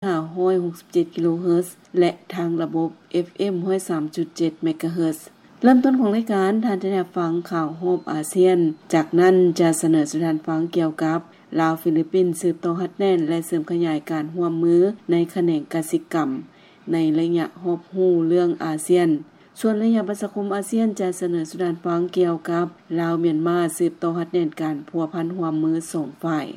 ຫ້າຮ້ອຍຫົກສິບເຈັດກິໂລເຮີດ ແລະ ທາງລະບົບ ເອັຟເອັມ ຮ້ອຍສາມຈຸດເຈັດເມກາເຮີດ. ເລີ່ມຕົ້ນຂອງລາຍການ, ທ່ານຈະໄດ້ຮັບຟັງຂ່າວຮອບອາຊຽນ. ຈາກນັ້ນຈະສະເໜີສູ່ທ່ານຟັງກ່ຽວກັບ ລາວ-ຟີລິບປິນສືບຕໍ່ຮັດແໜ້ນ ແລະ ເສີມຂະຫຍາຍການຮ່ວມມືໃນຂະແໜງກະສິກຳ ໃນໄລຍະຮອບຮູ້ເລື່ອງອາຊຽນ. ສ່ວນໄລຍະປະຊາຄົມອາຊຽນຈະສະເໜີສູ່ທ່ານຟັງກ່ຽວກັບ ລາວ-ມຽນມາ ສືບຕໍ່ຮັດແໜ້ນການພົວພັນຮ່ວມມືສອງຝ່າຍ.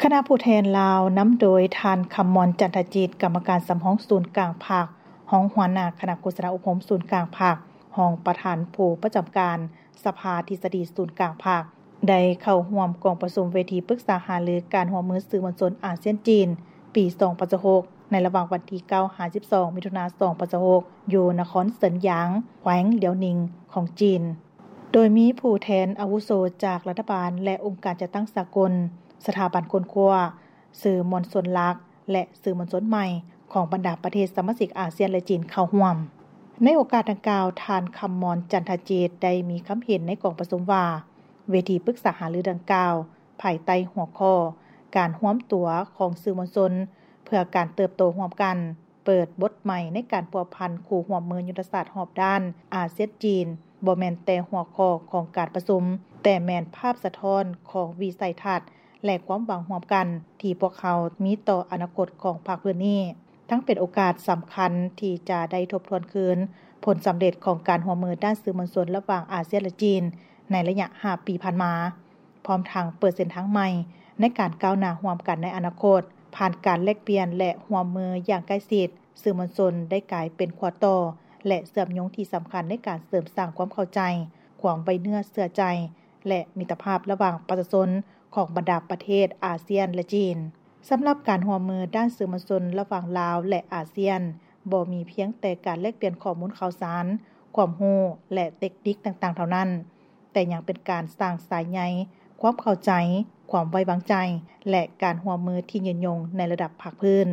ຄະນະຜູ້ແທນລາວນຳໂດຍທ່ານ ຄຳມອນ ຈັນທະຈິດ ກຳມະການສຳຮອງສູນກາງພັກ, ຮອງຫົວໜ້າຄະນະໂຄສະນາອົບຮົມສູນກາງພັກ, ຮອງປະທານຜູ້ປະຈຳການສະພາທິດສະດີສູນກາງພັກ ໄດ້ເຂົ້າຮ່ວມກອງປະຊຸມເວທີປຶກສາຫາລືການຮ່ວມມືສື່ມວນຊົນອາຊຽນ-ຈີນ ປີສອງພັນຊາວຫົກ ໃນລະຫວ່າງວັນທີເກົ້າ ຫາ ສິບສອງ ມິຖຸນາ ສອງພັນຊາວຫົກ ຢູ່ນະຄອນເຊິນຢາງ ແຂວງຫຼຽວໜິງ ຂອງຈີນ. ໂດຍມີຜູ້ແທນອາວຸໂສຈາກລັດຖະບານ ແລະ ອົງການຈັດຕັ້ງສາກົນ, ສະຖາບັນຄົ້ນຄວ້າ, ສື່ມວນຊົນຫຼັກ ແລະ ສື່ມວນຊົນໃໝ່ຂອງບັນດາປະເທດສະມາຊິກອາຊຽນ ແລະ ຈີນເຂົ້າຮ່ວມ. ໃນໂອກາດດັ່ງກ່າວ, ທ່ານ ຄຳມອນ ຈັນທະຈິດ ໄດ້ມີຄຳເຫັນໃນກອງປະຊຸມວ່າ ເວທີປຶກສາຫາລືດັ່ງກ່າວ ພາຍໃຕ້ຫົວຂໍ້ ການຮວມຕົວຂອງສື່ມວນຊົນເພື່ອການເຕີບໂຕຮ່ວມກັນ ເປີດບົດໃໝ່ໃນການພົວພັນຄູ່ຮ່ວມມືຍຸດທະສາດຮອບດ້ານອາຊຽນ-ຈີນ ບໍ່ແມ່ນແຕ່ຫົວຂໍ້ຂອງການປະຊຸມ, ແຕ່ແມ່ນພາບສະທ້ອນຂອງວິໄສທັດ ແລະ ຄວາມຫວັງຮ່ວມກັນທີ່ພວກເຮົາມີຕໍ່ອະນາຄົດຂອງພາກພື້ນນີ້, ທັງເປັນໂອກາດສຳຄັນທີ່ຈະໄດ້ທົບທວນຄືນຜົນສຳເລັດຂອງການຮ່ວມມືດ້ານສື່ມວນຊົນລະຫວ່າງອາຊຽນ ແລະ ຈີນ ໃນໄລຍະຫ້າປີຜ່ານມາ. ພ້ອມທັງເປີດເສັ້ນທາງໃໝ່ໃນການກ້າວໜ້າຮ່ວມກັນໃນອະນາຄົດ, ຜ່ານການແລກປ່ຽນ ແລະ ຮ່ວມມືຢ່າງໃກ້ຊິດ, ສື່ມວນຊົນໄດ້ກາຍເປັນຂົວຕໍ່ ແລະ ເຊື່ອມໂຍງທີ່ສຳຄັນໃນການເສີມສ້າງຄວາມເຂົ້າໃຈ, ຄວາມໄວ້ເນື້ອເຊື່ອໃຈ ແລະ ມິດຕະພາບລະຫວ່າງປະຊາຊົນຂອງບັນດາປະເທດອາຊຽນ ແລະ ຈີນ. ສຳລັບການຮ່ວມມືດ້ານສື່ມວນຊົນລະຫວ່າງລາວ ແລະ ອາຊຽນ ບໍ່ມີພຽງແຕ່ການແລກປ່ຽນຂໍ້ມູນຂ່າວສານ, ຄວາມຮູ້ ແລະ ເຕັກນິກຕ່າງໆເທົ່ານັ້ນ, ແຕ່ຍັງເປັນການສ້າງສາຍໃຍຄວາມເຂົ້າໃຈ, ຄວາມໄວ້ວາງໃຈ ແລະ ການຮ່ວມມືທີ່ຍືນຍົງໃນລະດັບພາກພື້ນ,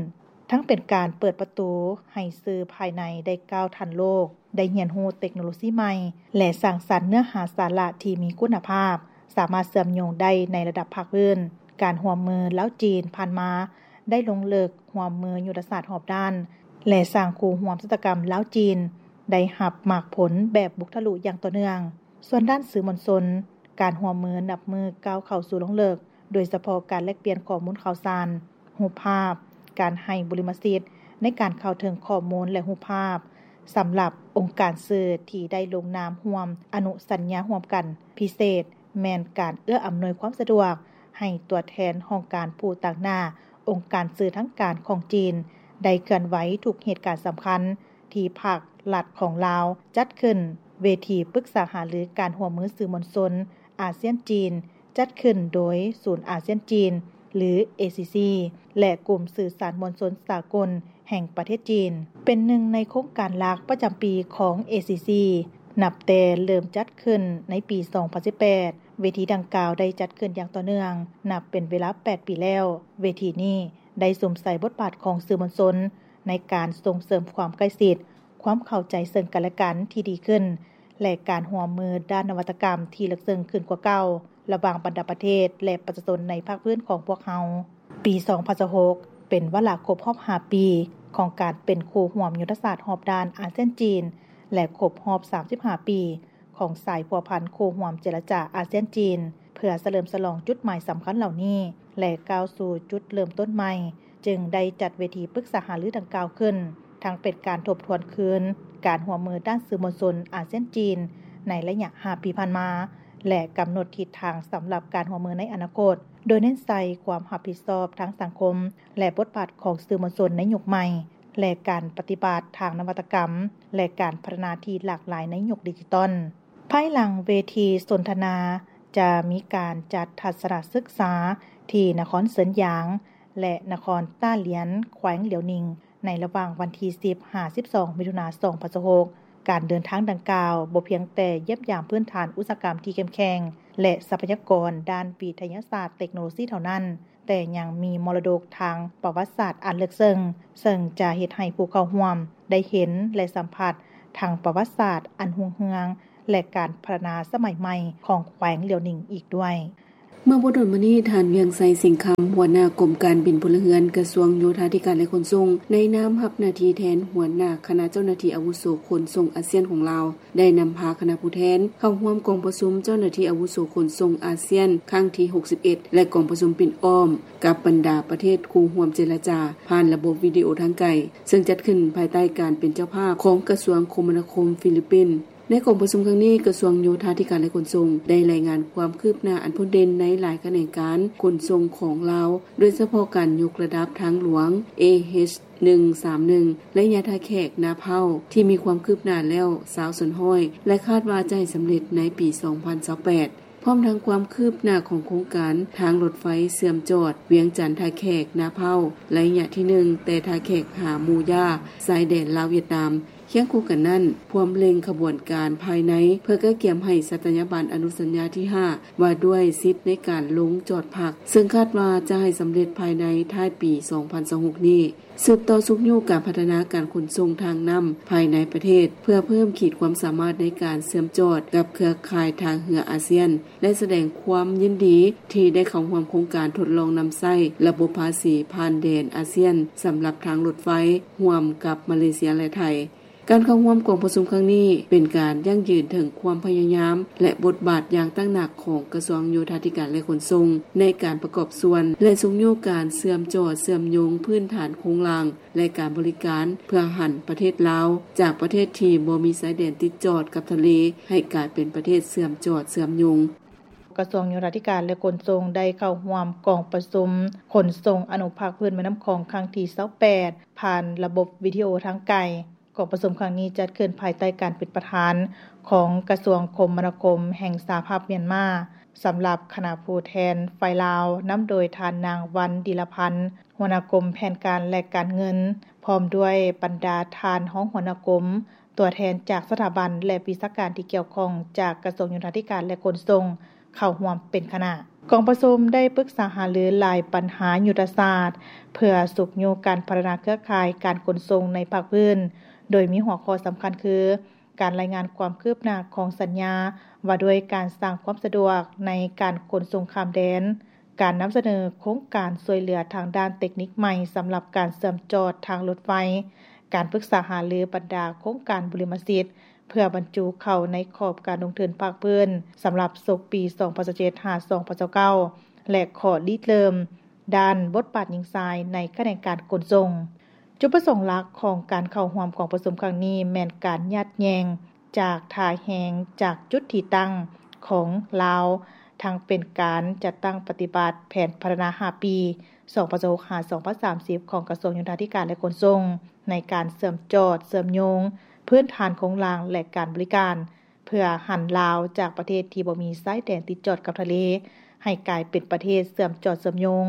ທັງເປັນການເປີດປະຕູໃຫ້ສື່ພາຍໃນໄດ້ກ້າວທັນໂລກ, ໄດ້ຮຽນຮູ້ເຕັກໂນໂລຊີໃໝ່ ແລະ ສ້າງສັນເນື້ອຫາສາລະທີ່ມີຄຸນນະພາບ, ສາມາດເຊື່ອມໂຍງໄດ້ໃນລະດັບພາກພື້ນ. ການຮ່ວມມືລາວ-ຈີນຜ່ານມາໄດ້ລົງເລິກຮ່ວມມືຍຸດທະສາດຮອບດ້ານ ແລະ ສ້າງຄູ່ຮ່ວມຊະຕາກຳລາວ-ຈີນ ໄດ້ຮັບໝາກຜົນແບບບຸກທະລຸຢ່າງຕໍ່ເນື່ອງ. ສ່ວນດ້ານສື່ມວນຊົນ, ການຮ່ວມມືນັບມື້ກ້າວເຂົ້າສູ່ລົງເລິກ, ໂດຍສະເພາະການແລກປ່ຽນຂໍ້ມູນຂ່າວສານ, ຮູບພາບ, ການໃຫ້ບຸລິມະສິດໃນການເຂົ້າເຖິງຂໍ້ມູນ ແລະ ຮູບພາບ. ສຳລັບອົງການສື່ທີ່ໄດ້ລົງນາມຮ່ວມອະນຸສັນຍາຮ່ວມກັນ, ພິເສດແມ່ນການເອື້ອອຳນວຍຄວາມສະດວກໃຫ້ຕົວແທນຫ້ອງການຜູ້ຕາງໜ້າອົງການສື່ທາງການຂອງຈີນ ໄດ້ເຄື່ອນໄຫວທຸກເຫດການສຳຄັນທີ່ພັກລັດຂອງລາວຈັດຂຶ້ນ. ເວທີປຶກສາຫາລືການຮ່ວມມືສື່ມວນຊົນອາຊຽນ-ຈີນ ຈັດຂຶ້ນໂດຍສູນອາຊຽນ-ຈີນ ຫຼື ເອຊີຊີ ແລະ ກຸ່ມສື່ສານມວນຊົນສາກົນແຫ່ງປະເທດຈີນ ເປັນໜຶ່ງໃນໂຄງການຫຼັກປະຈຳປີຂອງ ເອຊີຊີ ນັບແຕ່ເລີ່ມຈັດຂຶ້ນໃນປີສອງພັນສິບແປດ. ເວທີດັ່ງກ່າວໄດ້ຈັດຂຶ້ນຢ່າງຕໍ່ເນື່ອງ ນັບເປັນເວລາແປດປີແລ້ວ. ເວທີນີ້ໄດ້ສຸມໃສ່ບົດບາດຂອງສື່ມວນຊົນໃນການສົ່ງເສີມຄວາມໃກ້ຊິດ, ຄວາມເຂົ້າໃຈເຊິ່ງກັນແລະກັນທີ່ດີຂຶ້ນ ແລະ ການຮ່ວມມືດ້ານນະວັດຕະກຳທີ່ເລິກເຊິ່ງຂຶ້ນກວ່າເກົ່າ ລະຫວ່າງບັນດາປະເທດ ແລະ ປະຊາຊົນໃນພາກພື້ນຂອງພວກເຮົາ. ປີສອງພັນຊາວຫົກ ເປັນວາລະຄົບຮອບຫ້າປີຂອງການເປັນຄູ່ຮ່ວມຍຸດທະສາດຮອບດ້ານອາຊຽນ-ຈີນ ແລະ ຄົບຮອບສາມສິບຫ້າປີຂອງສາຍພົວພັນຄູ່ຮ່ວມເຈລະຈາອາຊຽນ-ຈີນ. ເພື່ອສະເຫຼີມສະຫຼອງຈຸດໝາຍສຳຄັນເຫຼົ່ານີ້ ແລະ ກ້າວສູ່ຈຸດເລີ່ມຕົ້ນໃໝ່, ຈຶ່ງໄດ້ຈັດເວທີປຶກສາຫາລືດັ່ງກ່າວຂຶ້ນ, ທັງເປັນການທົບທວນຄືນການຮ່ວມມືດ້ານສື່ມວນຊົນອາຊຽນ-ຈີນໃນໄລຍະຫ້າປີຜ່ານມາ ແລະ ກຳນົດທິດທາງສຳລັບການຮ່ວມມືໃນອະນາຄົດ, ໂດຍເນັ້ນໃສ່ຄວາມຮັບຜິດຊອບທາງສັງຄົມ ແລະ ບົດບາດຂອງສື່ມວນຊົນໃນຍຸກໃໝ່ ແລະ ການປະຕິບັດທາງນະວັດຕະກຳ ແລະ ການພັດທະນາທີ່ຫຼາກຫຼາຍໃນຍຸກດິຈິຕອນ. ພາຍຫຼັງເວທີສົນທະນາ ຈະມີການຈັດທັດສະນະສຶກສາທີ່ນະຄອນເຊິນຢາງ ແລະ ນະຄອນຕ້າຫຼຽນ ແຂວງຫຼຽວໜິງ ໃນລະຫວ່າງວັນທີສິບ ຫາ ສິບສອງ ມິຖຸນາ ສອງພັນຊາວຫົກ. ການເດີນທາງດັ່ງກ່າວບໍ່ພຽງແຕ່ຢ້ຽມຢາມພື້ນຖານອຸດສາຫະກຳທີ່ເຂັ້ມແຂງ ແລະ ຊັບພະຍາກອນດ້ານວິທະຍາສາດເຕັກໂນໂລຊີເທົ່ານັ້ນ, ແຕ່ຍັງມີມໍລະດົກທາງປະຫວັດສາດອັນເລິກເຊິ່ງ, ເຊິ່ງຈະເຮັດໃຫ້ຜູ້ເຂົ້າຮ່ວມໄດ້ເຫັນ ແລະ ສຳຜັດທັງປະຫວັດສາດອັນຮຸ່ງເຮືອງ ແລະ ການພັດທະນາສະໄໝໃໝ່ຂອງແຂວງຫຼຽວໜິງອີກດ້ວຍ. ເມື່ອບໍ່ດົນມານີ້, ທ່ານ ວຽງໄຊ ສິງຄຳ, ຫົວໜ້າກົມການບິນພົນລະເຮືອນ, ກະຊວງໂຍທາທິການ ແລະ ຂົນສົ່ງ, ໃນນາມຮັບໜ້າທີ່ແທນຫົວໜ້າຄະນະເຈົ້າໜ້າທີ່ອາວຸໂສຂົນສົ່ງອາຊຽນຂອງລາວ ໄດ້ນຳພາຄະນະຜູ້ແທນເຂົ້າຮ່ວມກອງປະຊຸມເຈົ້າໜ້າທີ່ອາວຸໂສຂົນສົ່ງອາຊຽນຄັ້ງທີຫົກສິບເອັດ ແລະ ກອງປະຊຸມປິ່ນອ້ອມກັບບັນດາປະເທດຄູ່ຮ່ວມເຈລະຈາຜ່ານລະບົບວິດີໂອທາງໄກ, ເຊິ່ງຈັດຂຶ້ນພາຍໃຕ້ການເປັນເຈົ້າພາບຂອງກະຊວງຄົມມະນາຄົມຟີລິບປິນ. ໃນກອງປະຊຸມຄັ້ງນີ້, ກະຊວງໂຍທາທິການ ແລະ ຂົນສົ່ງ ໄດ້ລາຍງານຄວາມຄືບໜ້າອັນພົ້ນເດັ່ນໃນຫຼາຍຂະແໜງການຂົນສົ່ງຂອງລາວ, ໂດຍສະເພາະການຍົກລະດັບທາງຫຼວງ ເອເອັດໜຶ່ງສາມໜຶ່ງ ໄລຍະທ່າແຂກນາເພົ້າ ທີ່ມີຄວາມຄືບໜ້າແລ້ວຊາວສ່ວນຮ້ອຍ ແລະ ຄາດວ່າຈະໃຫ້ສຳເລັດໃນປີສອງພັນຊາວແປດ. ພ້ອມທັງຄວາມຄືບໜ້າຂອງໂຄງການທາງລົດໄຟເຊື່ອມຈອດວຽງຈັນ-ທ່າແຂກ-ນາເພົ້າ ໄລຍະທີໜຶ່ງ ແຕ່ທ່າແຂກຫາໝູຢາ ຊາຍແດນລາວ-ຫວຽດນາມ. ຄຽງຄູ່ກັນນັ້ນ, ພວມເລັ່ງຂະບວນການພາຍໃນ ເພື່ອກະກຽມໃຫ້ສັດຕະຍາບັນອະນຸສັນຍາທີຫ້າ ວ່າດ້ວຍສິດໃນການລົງຈອດພັກ, ເຊິ່ງຄາດວ່າຈະໃຫ້ສຳເລັດພາຍໃນທ້າຍປີສອງພັນຊາວຫົກນີ້. ສືບຕໍ່ຊຸກຍູ້ການພັດທະນາການຂົນສົ່ງທາງນ້ຳພາຍໃນປະເທດ ເພື່ອເພີ່ມຂີດຄວາມສາມາດໃນການເຊື່ອມຈອດກັບເຄືອຂ່າຍທາງເຮືອອາຊຽນ ແລະ ສະແດງຄວາມຍິນດີທີ່ໄດ້ເຂົ້າຮ່ວມໂຄງການທົດລອງນຳໃຊ້ລະບົບພາສີຜ່ານແດນອາຊຽນສຳລັບທາງລົດໄຟຮ່ວມກັບມາເລເຊຍ ແລະ ໄທ. ການເຂົ້າຮ່ວມກອງປະຊຸມຄັ້ງນີ້ ເປັນການຢັ້ງຢືນເຖິງຄວາມພະຍາຍາມ ແລະ ບົດບາດຢ່າງຕັ້ງໜັກຂອງກະຊວງໂຍທາທິການ ແລະ ຂົນສົ່ງ ໃນການປະກອບສ່ວນ ແລະ ຊຸກຍູ້ການເຊື່ອມຈອດເຊື່ອມໂຍງພື້ນຖານໂຄງລ່າງ ແລະ ການບໍລິການ ເພື່ອຫັນປະເທດລາວຈາກປະເທດທີ່ບໍ່ມີຊາຍແດນຕິດຈອດກັບທະເລ ໃຫ້ກາຍເປັນປະເທດເຊື່ອມຈອດເຊື່ອມໂຍງ. ກະຊວງໂຍທາທິການ ແລະ ຂົນສົ່ງ ໄດ້ເຂົ້າຮ່ວມກອງປະຊຸມຂົນສົ່ງອະນຸພາກພື້ນແມ່ນ້ຳຂອງຄັ້ງທີຊາວແປດ ຜ່ານລະບົບວິດີໂອທາງໄກ. ກອງປະຊຸມຄັ້ງນີ້ຈັດຂຶ້ນພາຍໃຕ້ການເປັນປະທານຂອງກະຊວງຄົມມະນາຄົມແຫ່ງສະຫະພາບມຽນມາ, ສຳລັບຄະນະຜູ້ແທນຝ່າຍລາວ ນຳໂດຍທ່ານນາງ ວັນ ດີລະພັນ ຫົວໜ້າກົມແຜນການ ແລະ ການເງິນ, ພ້ອມດ້ວຍບັນດາທ່ານຮອງຫົວໜ້າກົມ, ຕົວແທນຈາກສະຖາບັນ ແລະ ວິຊາການທີ່ກ່ຽວຂ້ອງຈາກກະຊວງໂຍທາທິການ ແລະ ຂົນສົ່ງ ເຂົ້າຮ່ວມເປັນຄະນະ. ກອງປະຊຸມໄດ້ປຶກສາຫາລືຫຼາຍບັນຫາຍຸດທະສາດ ເພື່ອຊຸກຍູ້ການພັດທະນາເຄືອຂ່າຍການຂົນສົ່ງໃນພາກພື້ນ, ໂດຍມີຫົວຂໍ້ສຳຄັນຄື ການລາຍງານຄວາມຄືບໜ້າຂອງສັນຍາວ່າດ້ວຍການສ້າງຄວາມສະດວກໃນການຂົນສົ່ງຂ້າມແດນ, ການນຳສະເໜີໂຄງການຊ່ວຍເຫຼືອທາງດ້ານເຕັກນິກໃໝ່ສຳລັບການເຊື່ອມຈອດທາງລົດໄຟ, ການປຶກສາຫາລືບັນດາໂຄງການບຸລິມະສິດ ເພື່ອບັນຈຸເຂົ້າໃນຂອບການລົງທຶນພາກພື້ນສຳລັບສົກປີສອງພັນຊາວເຈັດ ຫາ ສອງພັນຊາວເກົ້າ ແລະ ຂໍ້ລິເລີ່ມດ້ານບົດບາດຍິງຊາຍໃນຂະແໜງການຂົນສົ່ງ. ຈຸດປະສົງຫຼັກຂອງການເຂົ້າຮ່ວມກອງປະຊຸມຄັ້ງນີ້ແມ່ນການຍາດແຍ່ງຈາກທ່າແຮງຈາກຈຸດທີ່ຕັ້ງຂອງລາວ, ທັງເປັນການຈັດຕັ້ງປະຕິບັດແຜນພັດທະນາຫ້າປີ ສອງພັນຊາວຫົກ ຫາ ສອງພັນສາມສິບ ຂອງກະຊວງໂຍທາທິການ ແລະ ຂົນສົ່ງ ໃນການເຊື່ອມຈອດເຊື່ອມໂຍງພື້ນຖານໂຄງລ່າງ ແລະ ການບໍລິການ ເພື່ອຫັນລາວຈາກປະເທດທີ່ບໍ່ມີຊາຍແດນຕິດຈອດກັບທະເລ ໃຫ້ກາຍເປັນປະເທດເຊື່ອມຈອດເຊື່ອມໂຍງ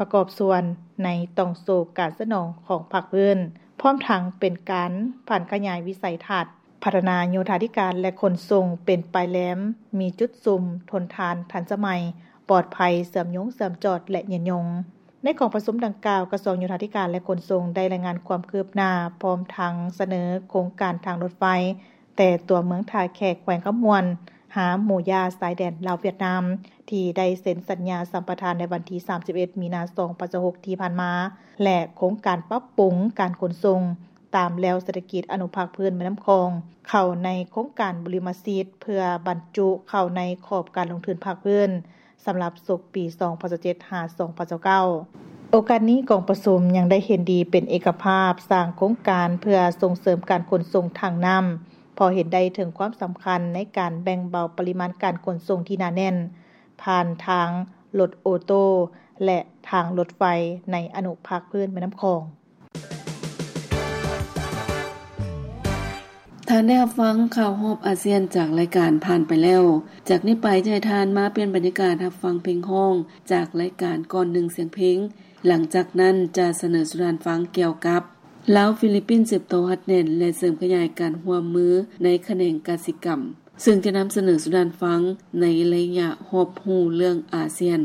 ປະກອບສ່ວນໃນຕ່ອງໂສ້ການສະໜອງຂອງພາກພື້ນ, ພ້ອມທັງເປັນການຜັນຂະຫຍາຍວິໄສທັດ ພັດທະນາໂຍທາທິການ ແລະ ຂົນສົ່ງເປັນປາຍແຫຼມ, ມີຈຸດຊຸມ, ທົນທານ, ທັນສະໄໝ, ປອດໄພ, ເຊື່ອມໂຍງເຊື່ອມຈອດ ແລະ ຍືນຍົງ. ໃນກອງປະຊຸມດັ່ງກ່າວ, ກະຊວງໂຍທາທິການ ແລະ ຂົນສົ່ງ ໄດ້ລາຍງານຄວາມຄືບໜ້າ ພ້ອມທັງສະເໜີໂຄງການທາງລົດໄຟ ແຕ່ຕົວເມືອງທ່າແຂກ ແຂວງຄຳມ່ວນ ຫາໝູຢາ ຊາຍແດນລາວ-ຫວຽດນາມ ທີ່ໄດ້ເຊັນສັນຍາສຳປະທານໃນວັນທີສາມສິບເອັດ ມີນາ ສອງພັນຊາວຫົກ ທີ່ຜ່ານມາ ແລະ ໂຄງການປັບປຸງການຂົນສົ່ງຕາມແລວເສດຖະກິດອະນຸພາກພື້ນແມ່ນ້ຳຂອງ ເຂົ້າໃນໂຄງການບຸລິມະສິດ ເພື່ອບັນຈຸເຂົ້າໃນຂອບການລົງທຶນພາກພື້ນ ສຳລັບສົກປີສອງພັນຊາວເຈັດ ຫາ ສອງພັນຊາວເກົ້າ. ໂອກາດນີ້ ກອງປະຊຸມຍັງໄດ້ເຫັນດີເປັນເອກະພາບສ້າງໂຄງການເພື່ອສົ່ງເສີມການຂົນສົ່ງທາງນ້ຳ, ເພາະເຫັນໄດ້ເຖິງຄວາມສຳຄັນໃນການແບ່ງເບົາປະລິມານການຂົນສົ່ງທີ່ໜາແໜ້ນ ຜ່ານທາງລົດໂອໂຕ້ ແລະ ທາງລົດໄຟໃນອະນຸພາກພື້ນແມ່ນ້ຳຂອງ. ທ່ານໄດ້ຮັບຟັງຂ່າວຮອບອາຊຽນຈາກລາຍການຜ່ານໄປແລ້ວ. ຈາກນີ້ໄປຈະໃຫ້ທ່ານມາປ່ຽນບັນຍາກາດຮັບຟັງເພງຮ້ອງຈາກລາຍການກ່ອນໜຶ່ງສຽງເພງ. ຫຼັງຈາກນັ້ນຈະສະເໜີສູ່ທ່ານຟັງກ່ຽວກັບ ລາວ-ຟີລິບປິນສືບຕໍ່ຮັດແໜ້ນ ແລະ ເສີມຂະຫຍາຍການຮ່ວມມືໃນຂະແໜງກະສິກຳ, ເຊິ່ງຈະນຳສະເໜີສູ່ທ່ານຟັງໃນໄລຍະຮອບຮູ້ເລື່ອງອາຊຽນ.